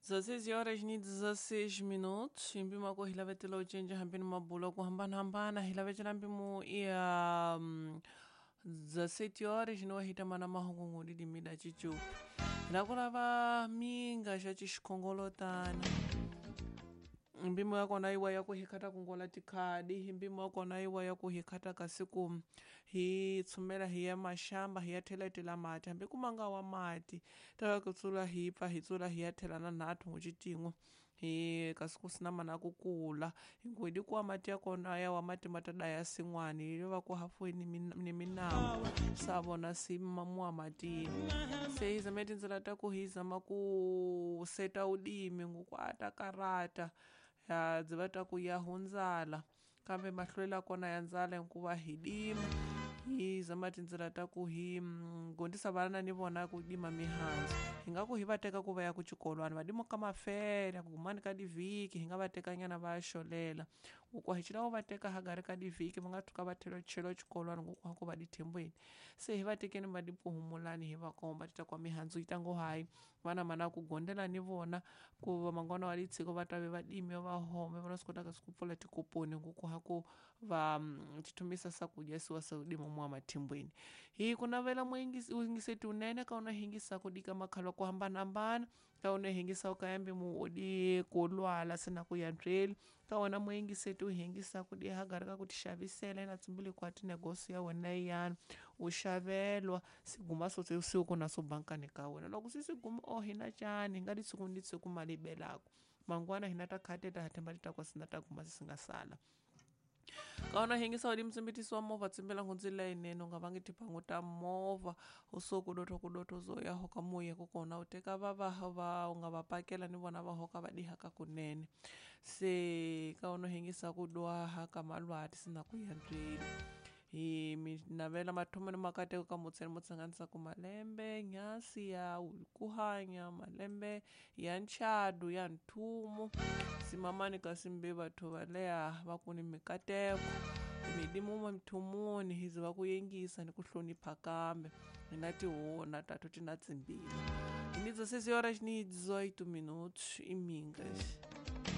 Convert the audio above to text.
16 horas ni 16 minutos hi mpimo wa ku hi lavetela u cinca hambi ni mabulo ku hambanahambana hi lavetela mpimo ya 17 horas ni wa hitamana mahungu didimida cicupi hi ku lava minga xa xikhongolotana mpimo ya kona yiwa ya ku hi khata kungola tikhadi hi mpimo wa kona yiwa ya ku hi khata kasi ku hi tshumela hi ya maxamba hi ya theletela mati hambi ku manga wa mati ta ku tsula hi pfa hi tsula hi ya thela na nhathu n'wi hi kasi ku sina mana ku kula hikuva kuwa mati ya kona ya wa mati ma ta daya sin'wani hi va ku hafuweni ni minambu sa vona si muwa matini se hi zame tindzela ta ku hi zama ku seta udimi nguku a ta karata ya byi va ta ku ya hundzala kambe mahlwela kona ya ndzala hikuva hi dima hi zama tindzela ta ku hi gondzisa vana ni vona ku dima mihandzu hi nga ku hi va teka ku va ya ku xikolwani va dima ka mafela ku gumani ka divhiki hi nga va teka nyana va ya xolela ku hi xi lava va teka hagari ka divhiki va nga tshuka va chela xikolwani ngoku ha ku va dithembweni se hi va tekeni va dikuhumulani hi va komba ti ta kwa mihandzu yi ta ngo hayi vana mana ku gondela ni vona ku va mangwana wa litshiko va ta ve va dimi va home va swi kotaka ku pfula tikoponi ngoku ha ku va tithumisa swakudya siwa swa dima mwa mathimbweni hi ku navela muyingiseti unene ka una hingisa ku dika makhala ku hambanahambana ka una hingisa u kayambi mu udi ku lwala sina ku yantsweli ka wena muyingiseti u hingisa ku di hagari ka ku ti xavisela na tsimbili kwa tinegosi ya wena yana u xavelwa siguma swo siku na swo bankani ka wena loko swi siguma o hina cani hi nga ditshuku ni ditshuku mali belako mangwana hina ta khateta ha themba ti ta kwa sina ta guma swi nga sala kaona hingisa udi mtsimbitisi wa movha tsimbela nhundzi leyinene u nga vangi tibangu ta movha u so kudotho kudotho zo ya hoka muye kukona u teka va va va u nga va pakela ni vona va hoka va dihaka kunene se kaona hingisa ku dwaha ka malwati sina ku yantsweli hi mi navela mathomo ni makateko ka mutseni mo tsanganisa ku malembe nyasi ya ku hanya malembe ya nchadu ya nthumo simamani kasi mbe batho va leha va ku ni mikateko midimu mithumuni hi ziva ku yengisa ni ku hlonipha kambe hi na tihona tatu ti na tsimbili hi ni 16 horas ni 18 minutos e mingas.